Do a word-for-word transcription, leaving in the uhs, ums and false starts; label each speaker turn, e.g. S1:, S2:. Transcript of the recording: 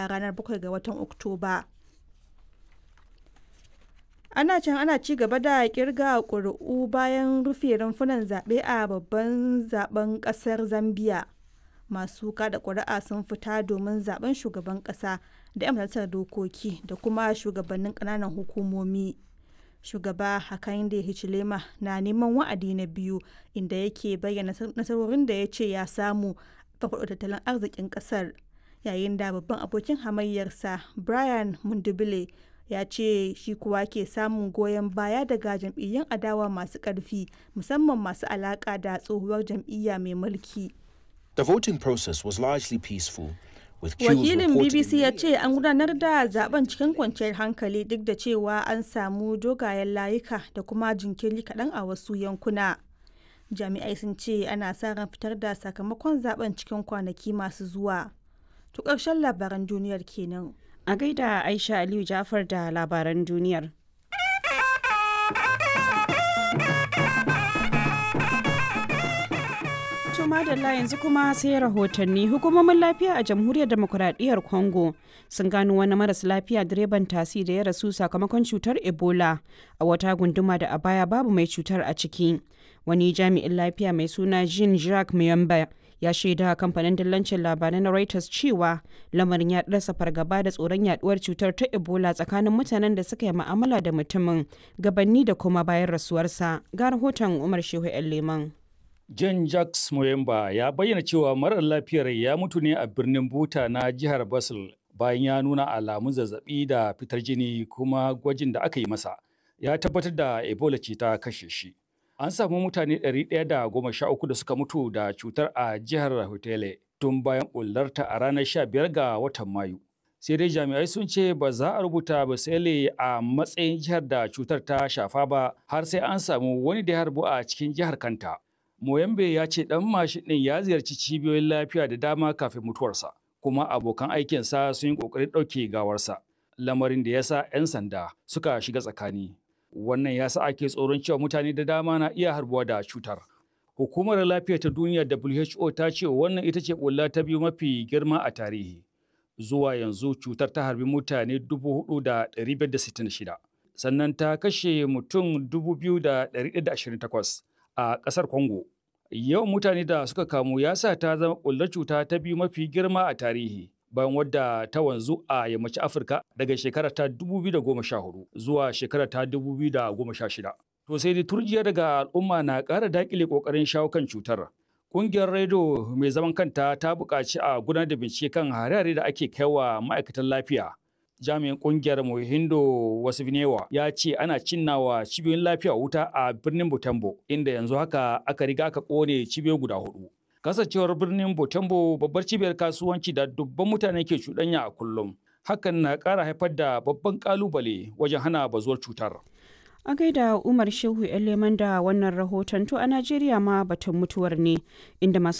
S1: a ranar bakwai ga watan Oktoba. Ana can ana ci gaba da kirga ƙuri'u bayan rufe rumfunan zaɓe a babban zaben ƙasar Zambiya. Masu kada ƙuri'a sun fita domin zaben shugaban ƙasa da 'yan majalisar dokoki da kuma shugabannin ƙananan hukumomi. Shugaba Hakainde Hichilema na neman wa'adi na biyu, inda yake bayyana nasarorin da ya ce ya samu farfaɗo tattalin arzikin ƙasar, yayin da babban abokin hamayyarsa Brian Mundubile ya ce shi kuwa ke samun goyon baya daga jam'iyyun adawa masu ƙarfi, musamman masu alaƙa da tsohuwar jam'iyya mai mulki.
S2: The voting process was largely peaceful, with queues
S1: Wakilin
S2: reported
S1: B B C
S2: in
S1: ya
S2: many
S1: ce an gudanar da zaben cikin kwanciyar hankali, duk da cewa an samu dogayen layuka da kuma jinkiri kaɗan a wasu yankuna. Jami'ai sun ce ana sa ran fitar da sakamakon zaben cikin kwanaki masu zuwa. To, ƙarshen labaran duniyar kenan.
S3: A gaida Aisha Aliyu Jafar da labaran duniyar. To madalla, yanzu kuma sai rahotanni. Hukumomin lafiya a Jamhuriyar Demokuraɗiyyar Congo sun gano wani maras lafiya direban tasi da ya rasu sakamakon cutar Ebola a wata gunduma da a baya babu mai cutar a ciki. Wani jami'in lafiya mai suna Jean Jacques Muyamba ya shaida kamfanin dillancin labarai na Reuters cewa lamarin ya rasa fargaba da tsoron yaduwar cutar ta Ebola tsakanin mutanen da suka yi ma'amala da mutumin gabanni da kuma bayan rasuwarsa. Ga rahoton Umar Shehu 'Yan Leman.
S4: John Jacques Moyemba ya bayyana cewa marar lafiyar ya mutu ne a birnin Buta na jihar Basel bayan ya nuna alamun zazzabi da fitar jini, kuma gwajin da aka yi masa ya tabbatar da Ebola ce ta kashe shi. An samu mutane ɗari ɗaya da goma sha uku da suka mutu da cutar a jihar Hotele tun bayan bullarta a ranar sha biyar ga watan Mayu. Sai dai jami'ai sun ce ba za a rubuta Basele a matsayin jihar da cutar ta shafa ba har sai an samu wani da ya harbu a cikin jihar kanta. Moyambe ya ce ɗan mashin ɗin ya ziyarci cibiyoyin lafiya da dama kafin mutuwarsa, kuma abokan aikinsa sun yi ƙoƙarin ɗauke gawarsa, lamarin da ya sa 'yan sanda suka shiga tsakani. Wannan ya sa ake tsoron cewa mutane da dama na iya harbuwa da cutar. Hukumar Lafiya ta Duniya W H O ta ce wannan ita ce ɓulla ta biyu mafi girma a tarihi. Zuwa yanzu cutar ta harbi mutane dubu huɗu da ɗari biyar da sittin da shida, sannan ta kashe mutum dubu biyu da ɗari ɗaya da ashirin da takwas a ƙasar Congo. Yawan mutane da suka kamu ya sa ta zama ɓullar cuta ta biyu mafi girma a tarihi, bayan wadda ta wanzu a yammacin Afirka daga shekara ta dubu biyu da goma sha huɗu zuwa shekara ta dubu biyu da goma sha shida. To sai dai turjiya daga al'umma na ƙara daƙile ƙoƙarin shawo kan cutar. Ƙungiyar rediyo mai zaman kanta ta buƙaci a gudanar da bincike kan hare-hare da ake kaiwa ma'aikatan lafiya. Jami'in kungiyar Mohindo Wasifnewa ya ce ana cinnawa cibiyoyin lafiya wuta a birnin Butembo, inda yanzu haka aka riga aka kone cibiyoyi guda hudu. Kasancewar birnin Butembo babbar cibiyar kasuwanci da dubban mutane ke cuɗanya a kullum, hakan na ƙara haifar da babban ƙalubale wajen hana bazuwar cutar.
S3: A gaida Umar Shehu 'Yan Leman da wannan rahoton. To a Najeriya ma batun mutuwar ne, inda masu